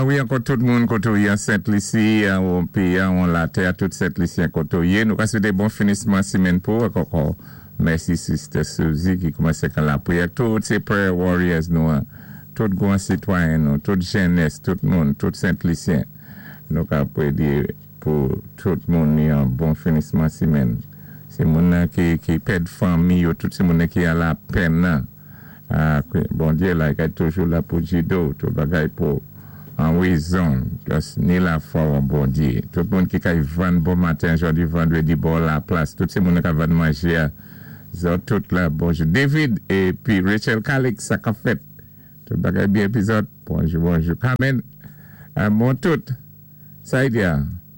Wi, ankò tout moun koté an Sent Lisi, an péyi, an latè, tout Sent Lisyen koté yé. Nou ka swété bon finisman simenn pou ankò. Mèsi Sister Suzy ki koumansé kan lapriyè. Tout sé prayer warriors nou, tout gwan sitwayen nou, tout jènès, tout moun, tout Sent Lisyen. Nou ka pwédi pou tout moun ni an bon finisman simenn. Sé moun nan ki pèd fanmi yo, tout sé moun nan ki an lapenn nan. Bondyé la, i toujou la pou jidé ou, tout bagay pou an wézon, just ni lafwa an Bondyé. Tout moun ki kay vann bon maten, jòdi vandwédi bò la plas, tout sé moun ki vann manjé, zòt tout la, bonjou. David épi Rachel Calix, sa ka fèt. Tout bagay byen épi zòt, bonjou, bonjou. Carmen, bon tout, sa y di,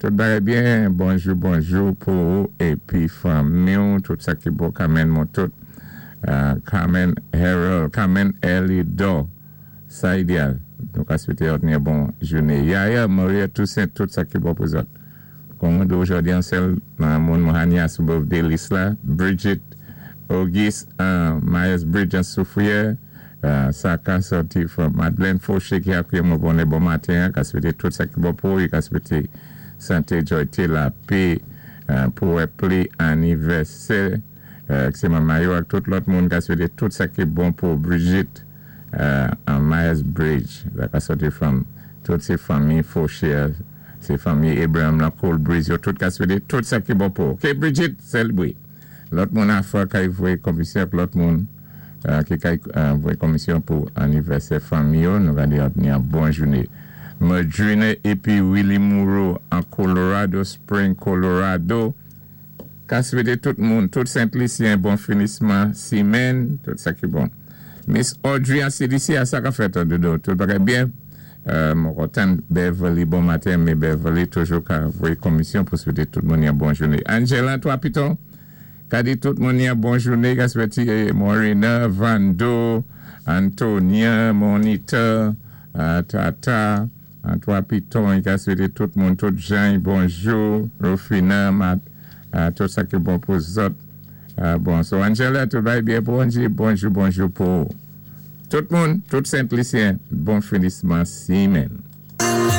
tout bagay byen, bonjou, bonjou pou ou, épi fanmi, tout sa ki bon, Carmen, mon tout. Carmen Harold, Carmen Elido, sa idéal. Nou ka swété yon bon jouné. Yaya, Maria Toussaint, tout sa ki bon pou zòt. Kòm jòdi an sèl moun Mohania sou birthday list la, Bridget Auguste, Myers Bridge an Soufrière, sa ka sòti from Madeleine Fauché ki akwiyé mwen bon bon maten, ka swété tout sa ki bon pou, ka swété santé, joyté, lapè, pou pli anivèsè, sé manman yo ak tout lòt moun ka swété tout sa ki bon pou Brigitte an Myers Bridge, la ka sòti from tout sé fanmi Fauché, sé fanmi Abraham la Cold Breeze, yo tout ka swété tout sa ki bon pou. Ok, Brigitte, sélbwé. Lòt moun afwa kay voyé komisyon, lòt moun ki kay voyé komisyon pou anivèsè fanmi yo, nou ka di ni an bon jouné. Madrina épi Willie Moreau an Colorado Spring, Colorado. Ka swété tout moun, tout Sent Lisyen, bon finisman simenn, tout sa ki bon. Miss Audrey an CDC, a sa ka fèt an dodo, tout bagay byen. Mwen kontan Beverly, bon maten, mais Beverly toujou ka voyé komisyon pou swété tout moun yon bon jouné. Angela, Twa Piton, ka di tout moun yon bon jouné, ka swété Morena, Vando, Antonia, Monita, Tata, an Twa Piton, ka swété tout moun, tout Jean, bonjou, Rufina, Mat, tout sa ki bon pou zòt. Bon, so Angela, tout bagay byen pou Angie, bonjou, bonjou pou tout moun, tout Sent Lisyen, bon finisman simenn.